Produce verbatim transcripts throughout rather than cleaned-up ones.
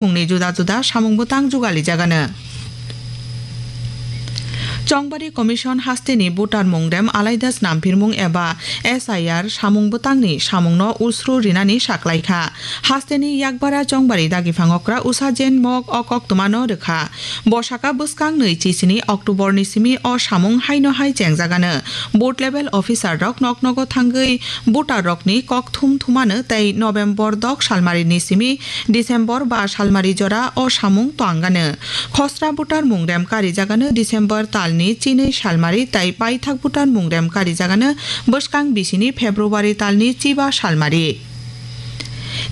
mungni juda juda samung bwtang jugalijagano. Chongbari Commission hasteni voter mungrem alaida snamphirmung eba S I R samung bwtangni samungno usru rinani saklaikha. Hasteni yakbara Chongbari dagiphango kra usa Jen Mok o koktwmano rwkha. Bo saka bwskang nui chisini October ni simi o samung haino hai chengjagano. Booth level officer rok nok nogo thangwi voter rokni kok thum thumano tei November dok salmari ni simi December ba salmari jora o samung twangano. Khosra voter mungrem karijagano December talni chinwi salmari tei paithak voter mungrem karijagano bwskang bisini February talni chiba salmari.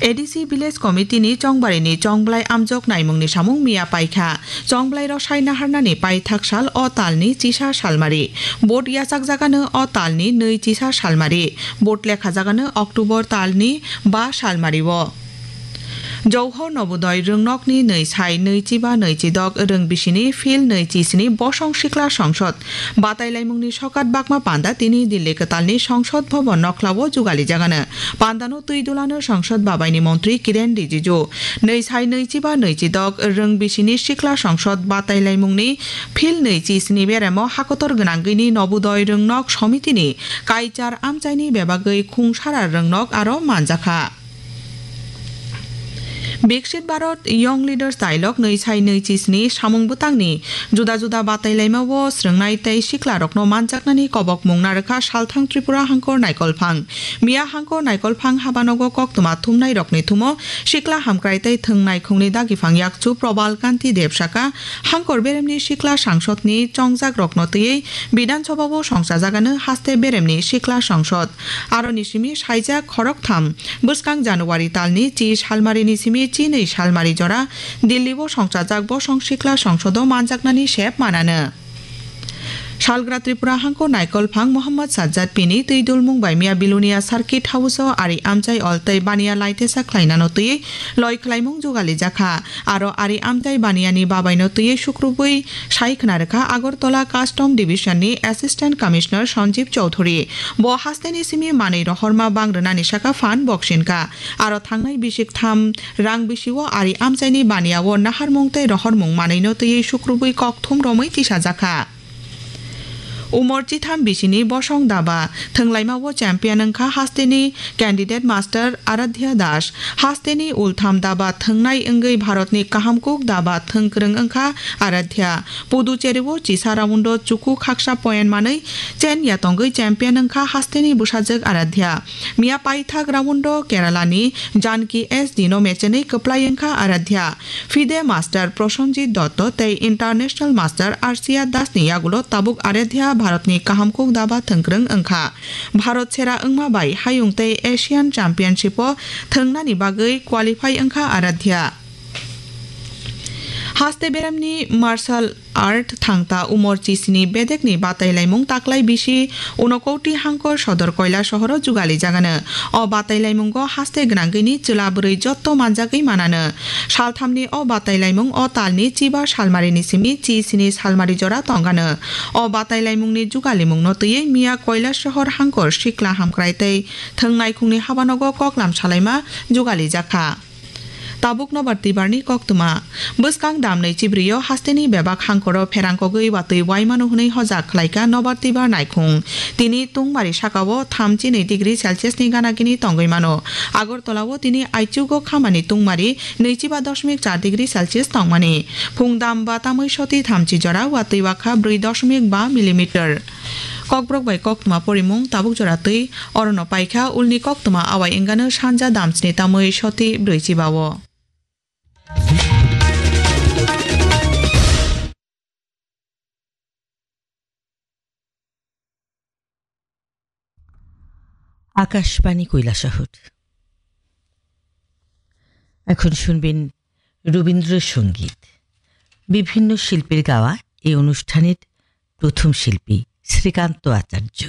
A D C Village Committee ni Chongbarini chongblai amjok naimungni samung miya paikha. Chongblai rok sai naharnani paithak sal o talni chisa salmari. Vote yachakjagano o talni nui chisa salmari. Vote lekhajagano October talni ba salmari o. Jauhor Nobudoi rwngnokni nui sai nui chiba nui chidok rwng bisini phil nui chisini bosong sikla songsod batailaimungni sokat bakma panda tini Delhi kwtalni Songsod Bhavan nokhlao jugalijagano. Pandano twi dulano Songsod babaini montri Kiren Rijiju. Nui sai nui chiba nui chidok rwng bisini sikla songsod batailaimungni phil nui chisini beremo hakotor gwnangwini Nobudoi rwngnok somitini kaichar amchaini bebagwi khungsara rwngnok aro manjakha. Biksit Bharat Young Leaders Dialogue nui sai nui chisni samung bwtangni juda juda batailaima o srwngnai tei siklarokno manjaknani kobok mung narwkha Salthang Tripura Hangkor Naikolphang. Miya Hangkor Naikolphang habanogo koktwma thumnairokni thumo sikla hamkrai tei thwng naikhungni dagiphang yakchu Probal Kanti Deb saka Hangkor beremni sikla sangsodni chongjakrokno twiwi Bidhan Sabha o songchajagano haste beremni sikla sangsod. Aroni simi saijak khoroktham bwskang January talni chi salmarini simi chi nwi salmari jora Delhi o songchajak bosong sikla songsodo manjaknani sep manano. Salgra Tripura Hangko Naikolphang Mohammad Sajjad Pini twi dulmung bai miya Bilonia Circuit House o ari amchai ol tei baniya laitesa khlainano twi loi khlaimung jugali jakha. Aro ari amchai baniyani babaino twi sukrubui sai khna rwkha Agartala Custom Division ni Assistant Commissioner Sanjeev Chowdhury. Bo hasteni simi manwi rohorma bang rwnani saka phan boksinka. Aro thangnai bisik tham rang bisio ari amchaini baniya o naharmung tei rohormung manwino twiwi sukrubui kok thum romwi tisajakha. Umor chitham bisini bosong daba thwnglaima o champion wngkha hasteni candidate master Aradhya Das. Hasteni ultham daba thwngnai wngwi Bharatni kahamkuk daba thwngkwrwng wngkha Aradhya. Puducherry o chisa round o chuku khaksa point manwi chen yatongwi champion wngkha hasteni bwsajwk Aradhya. Miya paithak round o Kerala ni Janki S D no mechenwi kwplai wngkha Aradhya. FIDE master Prosenjit Dotto tei international master Arsia Das ni yagulo tabuk Aradhya Bharatni kahamkuk daba thwngkwrwng wngkha. Bharat sera wngma bai hayung tei Asian Championship o thwngnani bagwi qualify wngkha Aradhya. Haste beremni martial art thangta umor chisini bedekni batailaimung taklai bisi Unakoti Hangkor Sodor Koila sohoro jugali jagano. O batailaimung o haste gwnangwini chwla bwrwi jotto manjagwi manano. Salthamni o batailaimung o talni chiba salmarini simi chisini salmari jora tongano. O batailaimungni jugalimungno twiwi miya Koila sohor Hangkor sikla hamkrai tei thwng naikhungni habanogo koklam salaima jugali jakha. Tabuk nobar twibarni koktwma. Bwskang damnwi chibrio hasteni bebak hangkoro pherangkogwi watwi waimano hwnwi hojak khlaika nobar twibar naikhung. Tini tungmari sakao thamchi nwi degree Celsius ni gana gini tongwi mano. Agartala o tini aichugo khamani tungmari nwichiba dosmik char degree Celsius tongmani. Phung dam ba tamwi soti thamchi jora watwi wakha brwi dosmik ba millimeter. Kokborok bai koktwma porimung tabuk jora twi orono paikha ulni koktwma awai wngano sanja damsni tamwi soti brwi chibao. Akashvani কৈলাসহর। এখন শুনবেন রবীন্দ্রসঙ্গীত। বিভিন্ন শিল্পীর গাওয়া এই অনুষ্ঠানের প্রথম শিল্পী শ্রীকান্ত আচার্য।